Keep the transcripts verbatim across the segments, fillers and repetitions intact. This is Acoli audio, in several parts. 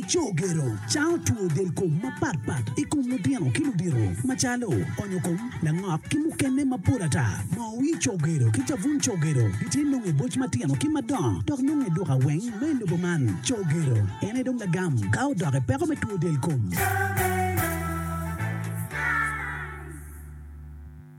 Cogero cango two del kom mapatpat i kom lutino ki ludito macalo onyo kom, langok ki mukene mapol ata. Moo wir cogero ki cabun cogero gitye nongo i boc matino ki madongo dok nongo i duka weng ma i lobo man. Cogero en aye dong lagam ka odok i peko me two del kom.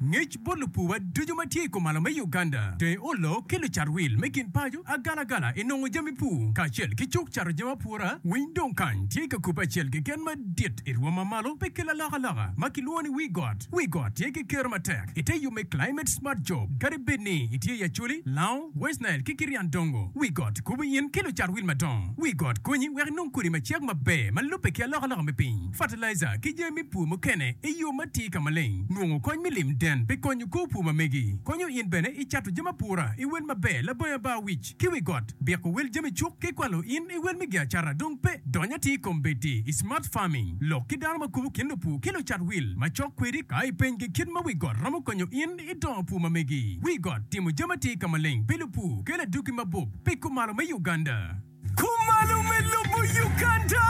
Ngec bot lupuwa ducu ma tye i kumalo me Uganda, Teng olo ki lucat wil me kin paco, agalagala i nongo jami pur kacel ki cuk cato jami apura. Winy dong kany tye ka kubbe acel keken madit i rwom ma malo pi kelo alokaloka ma kilwongo ni wi got. Wi got tye ki kero matek ite yub me Climate Smart Job kadi bed ni itye i Acholi, Lango, West Nile ki Kirian Dongo. Wi got kubo in ki lucat wil madongo. Wi got konyi wek inong kodi macek maber ma lubbe ki alokaloka me piny, fertilizer ki jami me pur mukene i yo matir ka maleng. Nongo kony me lim den pi konyo kor pur ma megi. Konyo in bene i cato jami apura i wel maber labongo abar wic ki wi got. Biko wel jami cuk ki kwalo in i wel me giacara dong pe. Dony atir i kom bedi i Smart Farming. Lok ki dano ma kubo kin lupur ki lucat wil ma cok kwedi ka ipenygi kit ma wi got romo konyo in i dongo pur ma megi. Wi got timo jami atir ka maleng pi lupur kelo adwogi mabup pi kumalo me Uganda. Kumalo me lobo Uganda!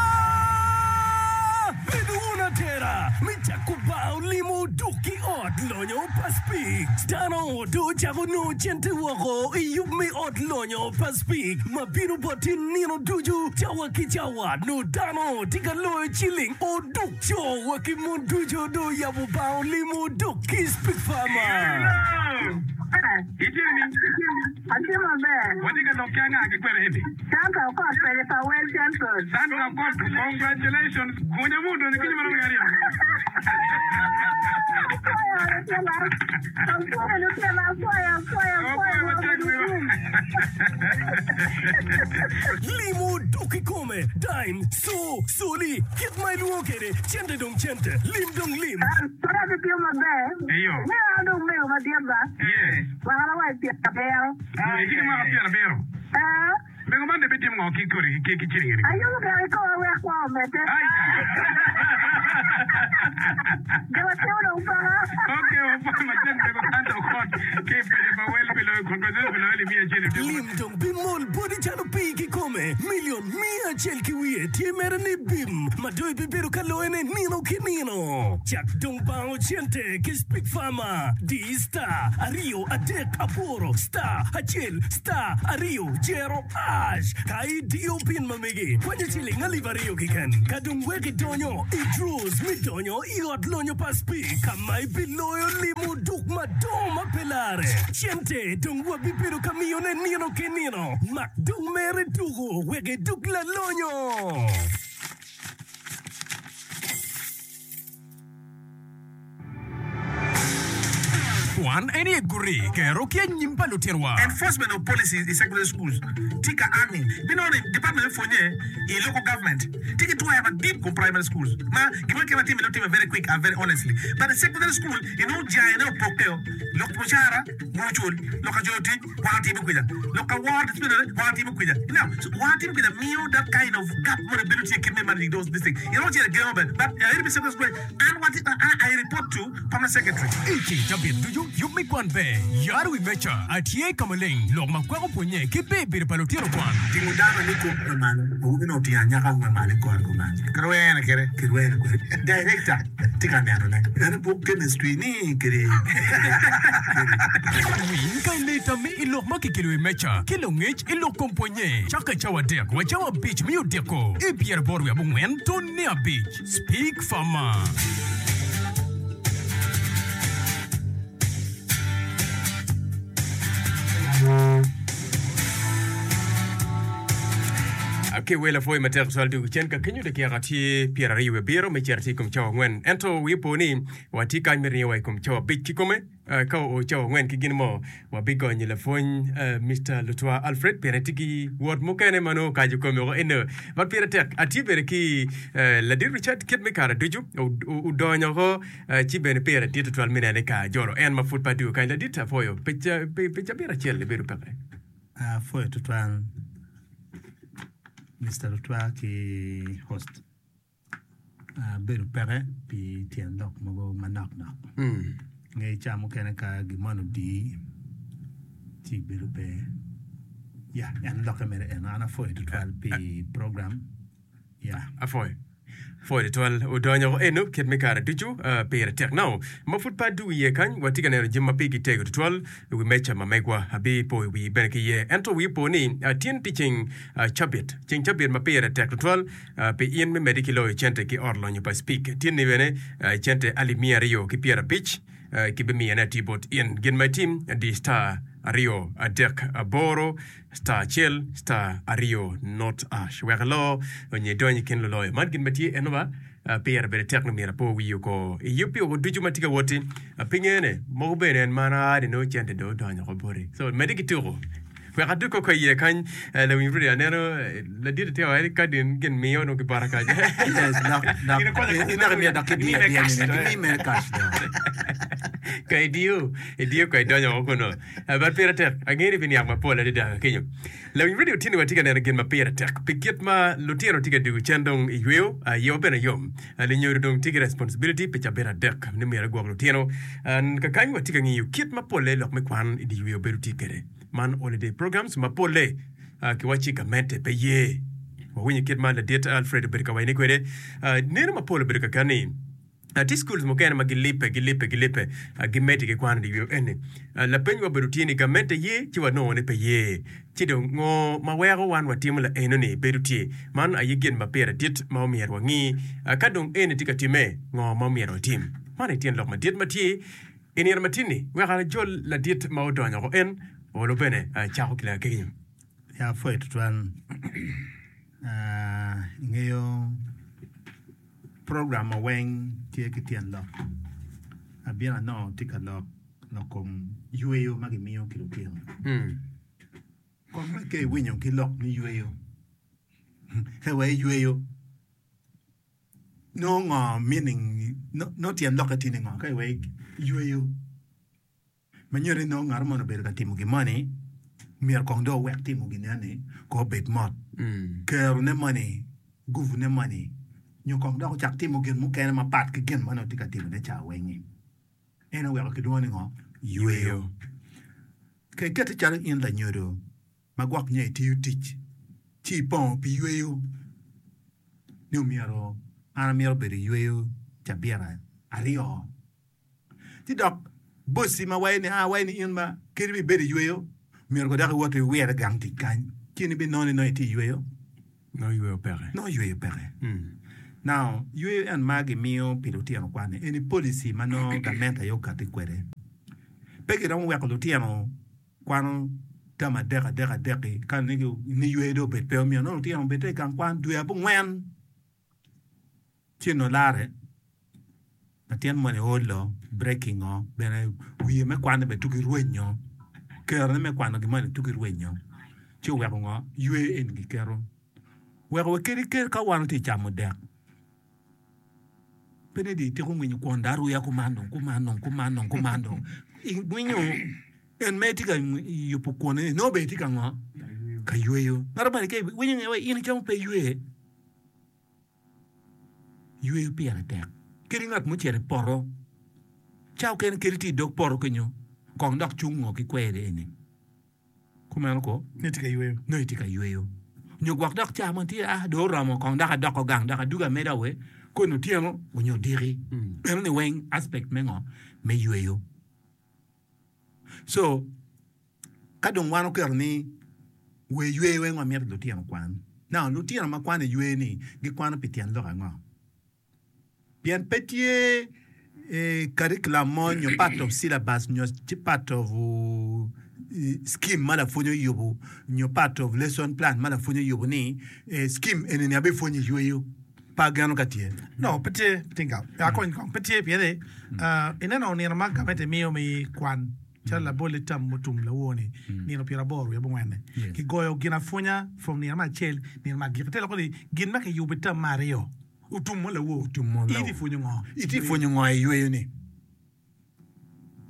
Bedo wun atera me cako bar olimo duk ki ot lonyo pa Speke. Dano dong ocako nongo cente woko i yub me ot lonyo pa Speke ma bino boti nino ducu cawa ki cawa. Nongo dano tye ka loyo ciling oduk. Co wa ki mon ducu dong oyabo bar olimo duk ki Speke Farmer. Atye maber. Watye ka lok ki anga ki kwene eni? Sandra Okot kwede pa Well Central. Sandra Okot, congratulations. Gunya mu odonyo kinyo marom ki aryo. Apwoyo lutela. Apwoyo lutela, apwoyo, apwoyo, apwoyo. Apwoyo matek wiwa. Limo dok kikome, dime, co, coli, kit ma ilwongo kwede, cente dong cente, lim dong lim. Pud atye maber. Eyo. Ngeyo an dong mego madit ba. Yes. Mwakana wa i pyerabiro. Itye ki mwaka pyerabiro? Ee. Mego man dong ibitimo ngo ki kodi ki ciling eni? Ayubo gire ki koma wek kwo omedde. Jo matino dong paka. Ok, wapwoyo matek mego Sandra Okot ki i paco pa Wel pi loyo congratulations pi loyo alip miya acel i odiko. Lim dong bimol boti calo pii kikome. Milion miya acel ki wiye tye mere ni bim ma dong ibibedo ka loyone nino ki nino. Cak dong bango cente ki Speak Farmer. Di star aryo adek aboro star acel star aryo jero ash ka idiyo pin ma megi kwanyo ciling alip aryo keken ka dong wek idonyo i draws me donyo i ot lonyo pa Speke ka ma ibiloyo limo duk madongo ma pe lare. Cente dong wabibedo ka miyone nino ki nino. Mak dong mere tuko wek iduk lalonyo. Kwan en aye guti kero ki anyim pa lutinwa. Enforcement of policies i secondary schools tye ka ango? Binongo ni department me pwonye i local government tye ki twero madit kom primary schools ma gin mo keken ma time nongo time very quick and very honestly but i secondary school inongo jange ne opokke o lok mucara wun wucul lok ka coyo tic wan watimo kwica lok ka woro disciplinary wan watimo kwica now so wan watimo kwica miyo that kind of gap moni bedo tye kit me managing those this thing iromo cito i gengo bene but aye pi secondary school an wati I report to permanent secretary. I ceng cabit ducu, yub me kwan ber, yaro wi meja, atye ka maleng, lok ma kwako pwonye ki ber bedo pa lutino kwan. Tingo dano ni kop me malo, awobi nongo otingo anyaka me malo i kore kuman. Kirwene kwede. Kirwene kwede. Director tye ka nenone. Ento buk chemistry ni kede. Winy ka ilee tammi i lok ma kikelo i meja ki lungec i lok kom pwonye cakke cawa adek wa cawa abic me odiko i pyeraboro wiye abongwen tone abic. Speak Farmer. Ki wel apwoyo matek twal dwogo cen ka kenyo dakika tye pyeraryo wiye abiro me cito tye i kom cawa angwen ento wiye opo ni watye kany me ringo wa i kom cawa abic kikome Eh, ka oo cawa angwen ki gin mo wabigonyo lapwony eh, Mister Lutwa Alfred pien etye ki wot mukene ma nongo okaco kome woko eno. But pire tek atye bene ki eh, ladit Richard kit me kare ducu o- o- odonyo oko eh, ci bene pire dit tutwal me nene ka ajolo en ma pud pe adwogo kany. Ladit apwoyo pi ca- pi pi cabit acel ibedo peke. Apwoyo tutwal Mister Lutwa ki host. Abedo peke pi tyen lok mogo manok nok. Nge ca mukene ka gin moni odii ci ibedo pe. Ya, en lokke mere eno. An apwoyo tutwal pi program. Yeah. Apwoyo. Pwoyo tutwal odonyo eno kit me kare ducu pire tek nao ma pud pe adwogo iye kany watye ka neno jami ma pigi tego tutwal i wi meja ma megwa abipoyo wii bene ki iye ento wii opo ni tin tye ceng cabit ceng cabit ma pire tek tutwal pi in me medde ki loyo cente ki ot lonyo pa Speke tin ni bene cente alip miya aryo ki pyerabic kibimiyone atir bot in gin ma itim di star aryo adek aboro star acel star aryo not ash wek ilo onyo idony i kin luloyo. Man gin ma tye eno ba pire bene tek ni myero apo wiyi oko i yub pi oko ducu ma tye ka woti pinge-ne mogo bene en man aa ni nongo cente dong odonyo oko boti so medde ki tuko wek adug koko iye kany lawiny Rudy aneno ladit tye ka waco ni ka din gin miyo nongo ki bota kany. Yes, dok dok ineko imiyo dok kidiyo adiya ni gimi mere cash dong. Ka idiyo idiyo ka idonyo oko kunu. But pire tek, angeyo ni biniang mapol adada kenyo. Lawiny radio tye ni watye ka neno gin ma pire tek pi kit ma lutino tye ka dwogo cen dong i yweyo, yewa bene yom. Lunyodo dong tye ki responsibility pi cabit adek ni myero egwok lutino. Kakany watye ka ngiyo kit ma polle lok me kwan i dye yweyo bedo tye kwede. Man holiday programs ma polle kiwacci gamente pe ye. Wawinyo kit ma ladit Alfred obedo ka wacone kwede. Neno mapol obedo kakan ni Tye schools mukene ma gilibbe, gilibbe, gilibbe, gimedde ki kwano i yo eni. Lapeny wa obedo tye ni gamente ye ci wanongo ni pe ye. Ci dong ngo ma weko wan watimo laeno ni bedo tye? Man aye gin ma pire dit ma omyero wangi. Ka dong eni tye ka time, ngo ma omyero watim? Man aye tyen lok madit ma tye i nino matin-ni. Wek ajol ladit ma odonyo oko en olo bene cako ki lakenyo. Ya apwoyo tutwal. Ingeyo Program ma weng tye ki tyen lok. Abino anongo tye ka lok lok kom yweyo ma gimiyo ki lutino. Kong ma ka iwinyo ki lok me yweyo, ka iweko iyweyo nongo ngo meaning nongo tyen lokke tye ni ngo ka iweko iyweyo. Ma nyuto ni nongo ngat moni obedo ka timo gin moni, myero kong dong owek timo gin eni kong obed mot. Kerone moni, guvune moni, nyo kong dok ocak timo gin mukene mapat ki gin ma nongo tye ka timone ca weng-ngi. En oweko kilwongo ni ngo? Yweyo. Ka ikette calo in lanyodo ma gwok nyo itiyo tic ci ipongo pi yweyo ni omyero an amito bedo i yweyo cabit aryo. Ci dok bossi ma waco ni, 'A, waco ni in ma kadi bed ibedo i yweyo, myero ko dok iwot iwire gang tic kany, ci in ibinongo ni nongo itye i yweyo?' Nongo yweyo peke. Nongo yweyo peke. Now, yweyo en ma gimiyo pi lutino kwan-ni, eni policy ma nongo gamente aye okatti kwede. Pe giromo weko lutino kwano term adek adek adek-ki ka ni yweyo dong obed pe, omyero nongo lutino obed i gang kwan dwe abongwen. Ci onongo larre, latin moni olo, breaking o, bene wiye me kwanne bene tugi rwenyo, kerone me kwano gin moni tugi rwenyo, ci oweko ngo? Yweyo eni giketo. Weko wa kadi ka wan watye ka camo dek, pe ni dong itiko ngwinyo kwon dong aruya kuman dong, kuman dong, kuman dong, kuman dong, ingwinyo en ma itye ka yubo kwon-ni nongo bene itye ka ngo? Ka yweyo. Ngat moni ka iwinyo ni in icamo pe iywe. Yweyo pire tek. Kadi ngat mucito i poto, ca okene kadi tye i dog poto kenyo, kong dok cung ngo ki kweri eni. Kumeno ko? Nongo itye ka yweyo. Nongo itye ka yweyo. Nyo gwok dok ca mo tye, ah, dong oromo, kong dok adoko gang, dok adugo ameda we, koni otyeno onyo odiki. Eno ni weng aspect me ngo? Me yweyo. So, ka dong wan oketo ni we ywe weng wamito lutino okwan. Now, lutino ma kwano i ywe ni gikwano pi tyen lok ango? Pien pe tye curriculum mo nyo part of syllabus nyo part of scheme ma lapwony oyubo nyo part of lesson plan ma lapwony oyubo ni scheme eni ni abipwonyo i yweyo. Pe ageno ka tye. No, pe tye, tinga. Akony kong, pe tye pien ni ineno nino ma gamente miyo me kwan calo labol i term mutum lawor-ni, nino pyeraboro wiye abongwen-ni, kigoyo ginapwonya from nino me acel nino me agikki. Te loko ni gin ma kiyubo i term me aryo otum mo lawor. Otum mo In lawor. itye pwonyo ngo? Itye pwonyo ngo i yweyo-ni?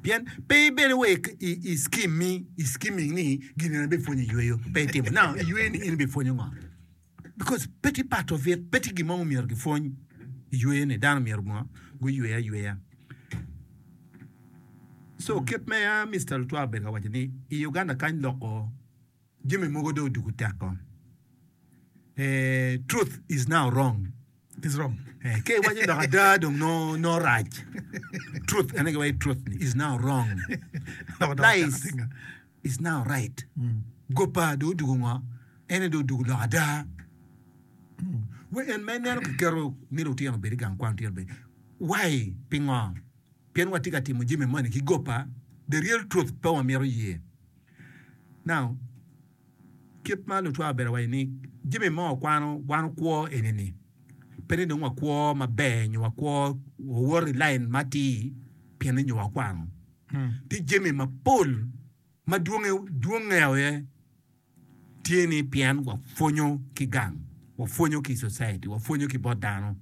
Pien pe ibedo wa i scheme-mi, i scheming ni gin eni abipwonyo i yweyo. Pe itimo. Now, i yweyo-ni in ibipwonyo ngo? Because pe tye part of it, pe tye gin mo ma myero gipwony i yweyo ni dano myero ngo guywe ayweya. So kit me a Mister Lutwaa obedo ka waco ni i Uganda kany loko jami mogo dong odwogo teko. eh, truth is now wrong. Is wrong. Eh, ke iwaco lok ada dong no no rac. Truth, en aye giwaco truth ni is now wrong. Lies is now right. Gopa dong odugo ngo? En aye dong odugo lok ada. We en ma ineno kiketo ni lutino obed i gang kwan, lutino obed. Why? Pingo? Pien watye ka timo jami moni ki gopa, the real truth pe wamito ye. Now, kit ma lutwa obedo waco ni jami ma wakwano wan okwo eni-ni pe ni dong wakwo maber nyo wakwo wawoto i lain ma atir pien ni nyo wakwano. Tye jami mapol ma dwonge dwonge aye tye ni pien wapwonyo ki gang, wapwonyo ki i society, wapwonyo ki bot dano.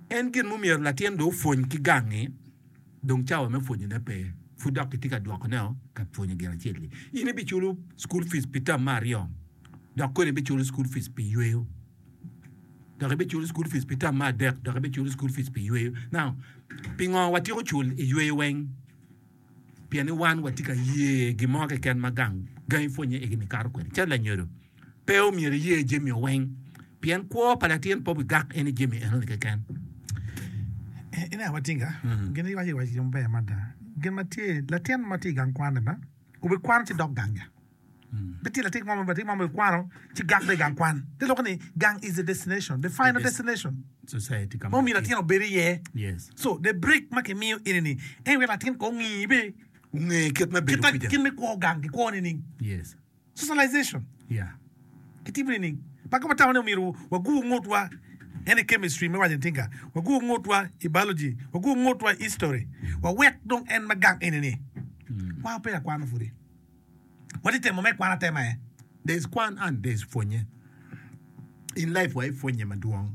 En gin mumyero latin dong opwony ki gang-ngi, dong cawa me pwonyone pe, pud dok kitye ka dwokone ka pwonyo gin acel-li. In ibiculo cukul fic pi tam me aryo, dok koni ibiculo cukul fic pi yweyo, dok ibiculo cukul fic pi tam me adek, dok ibiculo cukul fic pi yweyo. Now, pingo watyeko cul i yweyo weng? Pien ni wan watye ka ye gin mo keken ma gang gangi pwonye igi nikato kwede. Calo lanyodo, pe omyero iye jami weng, pien kwo pa latin pe obigak en i jami enoni keken. Ineno matinga, gin iwaco iwaco gin maber mada. Gin ma tye, latin ma tye i gang kwan-ni ba, obikwano ci dok gang ya. Pe tye latin mo ma latin mo ma obikwano ci gak dong i gang kwan. Te loko ni gang is the destination, the final destination Society ka ma omyero latin obed iye. Yes. So the break ma kimiyo eni-ni en wek latin kong ongi be Onge kit me bedo kit ma kwija. kit me kwo gang kikwo nining. Yes. Socialization. Yeah. Kitimo nining? Pa ka watamo ni omyero wagur ngutwa en i chemistry me waco ni tinga, wagur ngutwa i biology, wagur ngutwa i history, wawek dong en ma gang eni-ni. Wan pe akwano pudi. Watye temo me kwan atema aye. There is kwan and there is pwonye. In life wa ipwonye madwong.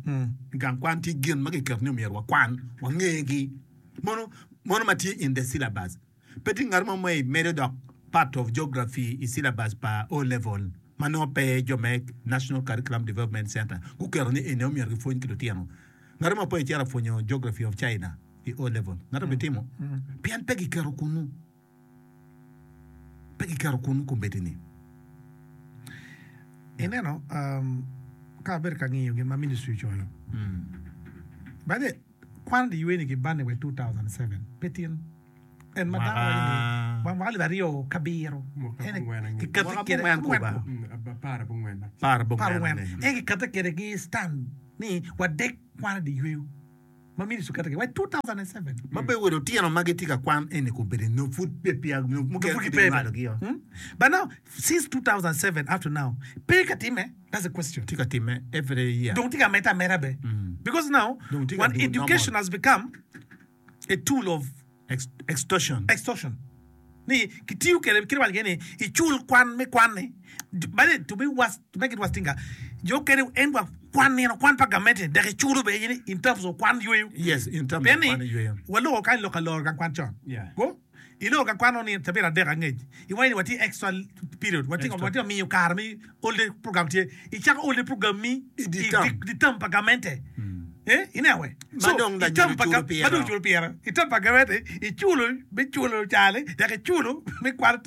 I gang kwan tye gin ma kiketo ni omyero wakwan, wangegi. Mono, mono ma tye in the syllabus. Pe tye ngat mo ma imedo dok part of geography i syllabus pa O level ma nongo pe jo me National Curriculum Development Centre guketo ni eni omyero gipwony ki lutino. Ngat mo pe icito apwonyo geography of China i O level. Ngat obitimo pien pe giketo kunu. Pe giketo kunu kombeddi-ni. Ineno, um, ka abedo ka ngiyo gin ma ministry ocoyo. By the way, kwan di yweni gibanne wa i two thousand seven, pe tin. En ma dano waco ni Mwaka mwaka alip aryo ki abiro. Mwaka En abongwen angec. kikete Mwaka kwede abongwen abongwen kuba. ko. Mm, ab- apar abongwen. Apar Apar abongwen abongwen. ane. En kikete kwede ki stand ni wadek kwan di yweyo ma ministry oketo kwede wa i two thousand seven. Ma pe welo otyeno ma gitye ka kwan eni kombeddi nongo pud pe peya nongo mukene Pud pud gipe. inywalogi-o. Hmm? But now, since two thousand seven up to now, pe ka timme? That's the question. Tye ka timme every year. Dong tye ka medde ameda be. Because now, Dong tye ka when dwogo education normal. has become a tool of Ex- extortion. extortion. Ni kitiyo kwede kit waco ni icul kwan me kwan-ni. By the way, to be worse, to make it worse tinga, jo okene en wa kwan nino kwan pa gamente dok iculo be in, in terms of kwan yweyo. Yes, in terms Pien of ni kwan yweyo. waloko kany lok aloro gang kwan con. Yeah. Go iloro gang kwan ni cabit adek angec. Iwaco ni watye extra period, watye Extra. watye miyo kare mi holiday program tye. Icako holiday program mi I di i term. di, di term pa gamente. Eh, ineno we? Ma So, dong i term lanyodo pa culo ga- pire. ma dong culo pire. I term pa gamente, iculo, me culo cale, dok iculo me kwano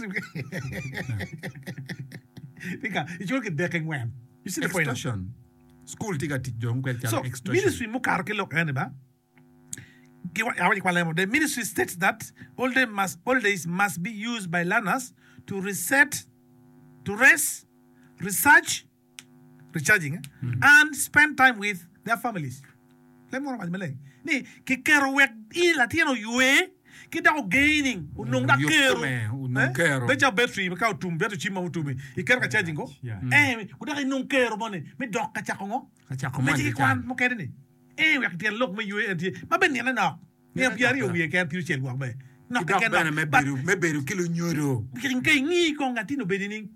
Tika, iculo ki dek ingwen. You see the point? Extortion. School tye ka tic dong kwede calo So, extortion. ministry mukato ki lok eni ba, Giwa- awaco kwa lemo. The ministry states that holiday must, holidays must be used by learners to reset, to rest, research, recharging, eh? and spend time with their families. Lemo waco maleng ni kiketo wek i latin oywe ki dok ogaining onong dok Oyub kero kome, onong kero. Bedo calo battery ka otum bedo cim ma otumi iketo ka charging ko Yeah. eh odok inong kero moni me dok ka cako ngo Ka cako me moni ci ki ki kwan can. mukene ni eh wek tyen lok me ywe en tye ma bene nine nok nino Nine pyeraryo nok, wiye keken pyeraucel gwok be nok Ki dok keken bene nok me but bedo me bedo ki lunyodo. ka ingi kong latin obedo ni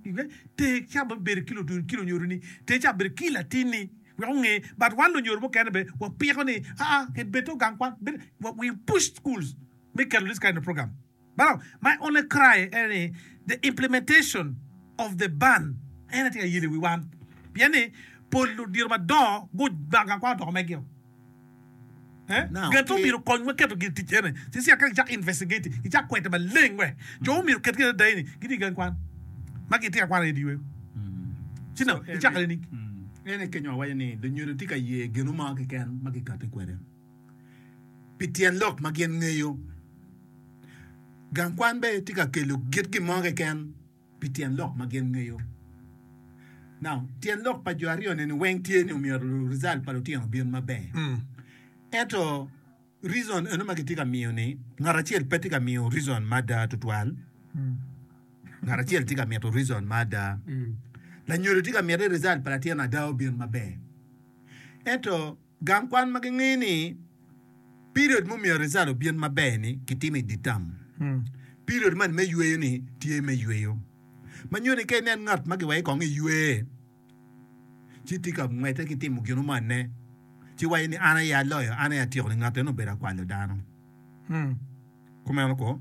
te ca bedo ki ludun ki lunyodo ni te ca bedo ki latinni wek onge but wan lunyodo mukene be wapiko ni ah ah bedo gang kwan bed- we push schools me keto this kind of program but now, my only cry en ni the implementation of the ban en aye tye ka yelo i wi wan pien ni pol ludito madongo gubako gang kwan odoko megio Eh? Now, Gin to ki- myero kony me keto gin tic ene. Ci ci ka gicak investigate, gicak kwete maleng we. Jo myero ket gin adai ni gitye i gang kwan. Ma gitye ka kwano i yweyo. Ci no, icako nining? En aye kenyo awaco ni lunyodo tye ka ye gino mo keken ma gikati kwede pi tyen lok ma gin ngeyo. Gang kwan bene tye ka kelo git gin mo keken pi tyen lok ma gin ngeyo. Now, tyen lok pa jo aryo ni weng tye ni omyero result pa lutino obin maber. Ento reason eno ma gitye ka miyo ni ngat acel pe tye ka miyo reason ma ada tutwal. Ngat acel tye ka mito reason ma ada. Lanyodo tye ka mito ni result pa latin ada obin maber. Ento gang kwan ma gingeyo ni period ma omyero result obin maber ni kitimo i dye term. Period man me yweyo ni tye me yweyo. Ma nyuto ni ka inen ngat ma giweko kong iywe ci tye ka ngwete ki timo gin mone ci waco ni an aye aloyo, an aye atyeko ni ngat eno obedo akwalo dano. Kumeno ko?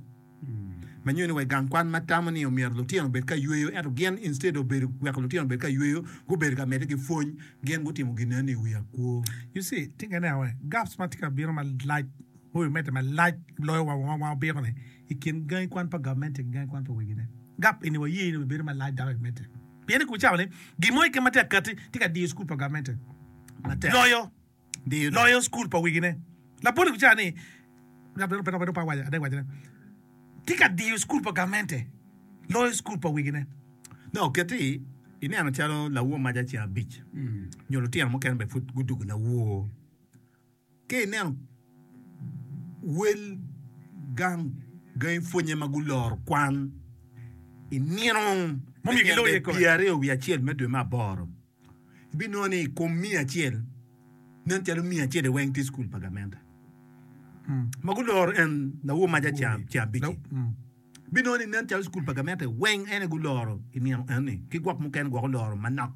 Ma nyuto ni wa i gang kwan ma tamo ni omyero lutino obed ka yweyo ento gin instead of bedo weko lutino obed ka yweyo gubedo ka medde ki pwony gin gutimo gin eno i wi akwo. You see, tye ka ineno gaps ma tye ka bino malac oyo medde malac loyo wa wa obiko ni i kin gangi kwan pa gavmenti ki gangi kwan pa wegine. Gap eni waye ni obedo malac dok emedde. Pien i kom cawa ni gin mo keken ma tye ka kati tye ka diyo cukul pa gavmenti Matek. loyo Diyo dong. loyo cukul pa wegine. Labol i kom cawa ni tye ka diyo cukul pa gamente loyo cukul pa wegine. No, keti ineno calo lawor maca ceng abic nyo lutino mukene bene pud gudugo lawor. Ka ineno wel gang gangi pwonye ma guloro kwan i nino me Mumiyo giloyo tyen i kome. pyeraryo wiye acel me dwe me aboro, ibinongo ni i kom miya acel nen calo miya acel weng tye cukul pa gamente ma guloro en lawor maca ceng ceng abic-ci. Binongo ni nen calo cukul pa gamente weng en aye guloro i nino eni ki gwok mukene gwok oloro manok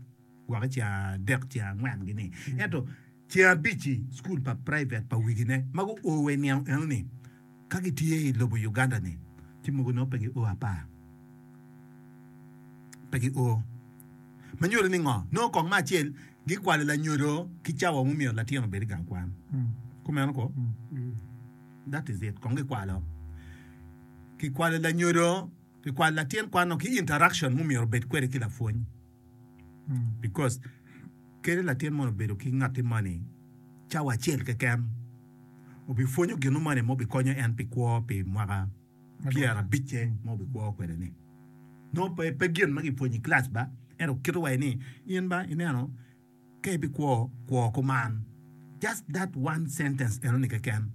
gwok i ceng adek ceng angwen gini ento ceng abic-ci cukul pa private pa wigine ma guo wa i nino eno-ni ka gitye i lobo Uganda ni ci mogo nongo pe gio apar pe gio ma nyuto ni ngo nongo kong me acel gikwalo lanyodo ki cawa mumyero latin obed i gang kwan kumeno ko that is it kong gikwalo kikwalo lanyodo kikwalo latin kwano ki interaction mumyero obed kwede ki lapwony because kadi latin moni obedo ki ngatti moni cawa acel keken obipwonyo gino moni ma obikonyo en pi kwo pi mwaka pyerabicce ma obikwo kwede ni nongo pe pe gin ma gipwonyo i class ba ento kito wa ni in ba ineno ka ibikwo kwo kuman just that one sentence eno ni keken